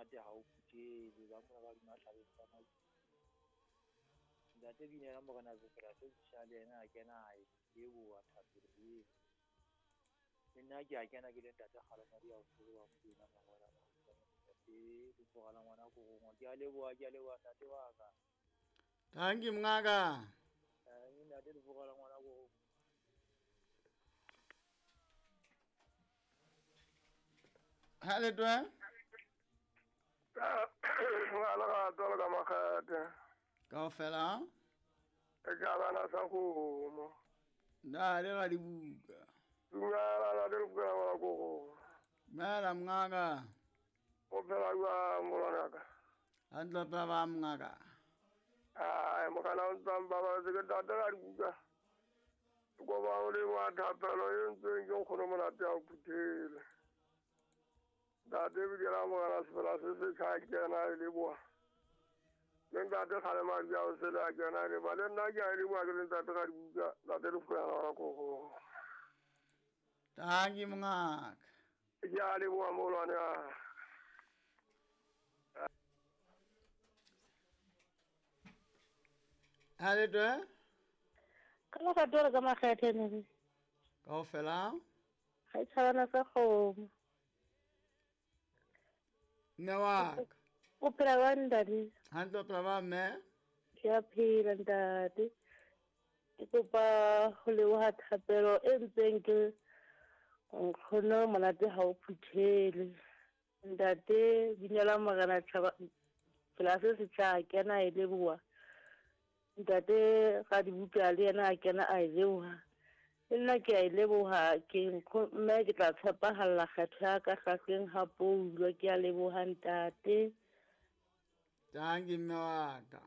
Monate ha o phuthele ba mona ba duma tlhabeng tsa Matsulu. Ntate Binela Morena Sefela se setjha le yena a kena a e leboha thapelo eo. Le nna ke a kena ke le ntate Kgalemadi ya o tseba Mokwena Mangwela Ntate Lefoga la ngwana Korongwa. Ke a leboha, ke a leboha ntate wa ka. Thank you mongaka. Ntate Lefoga la ngwana Korongwa. Ha le twe? Ngwana ga tswala ka makgate. Kaofela? E ka bana sa kgomo. Nna le ga dibuka. Dumela la le buka ngwana kgomo. Dumela mongaka. O phela jwang molwana ka? Hantle phela ba mongaka. Ai mogana o ntsang ba ba se ke tata ga dibuka. Ko ba o le wa thapelo e ntseng ke nkgono monate ya o phuthele. Ntate Bidira Morena Sefela se setjha a kena e leboha. Le ntate Kgalemadi a o sele a kena e leboha. Le nna ke a e leboha ke le ntate ga dibuka, ntate Lefokana wa Kgogo. Thank you mongaka. Ke a leboha moholwane wa. Ha le twe? Ka la ka tore ka makgethe ne. Kaofela? Ga e tshabana sa kgomo. Mme wa ka. O phela jwang ntate? Hantle o phela ba mme? Ke a phela ntate. Ke kopa ho leboha thapelo e ntseng ke nkgono monate ha o phuthele. Ntate Binela Morena Tjhaba phela se setjha a kena e leboha. Ntate ga dibuka le yena a kena a e leboha. Le nna ke a e leboha ke mme ke tla tshepahalla kgetho ya ka hlahleng ha poulo. Ke a leboha ntate. Thank you mme wa ka.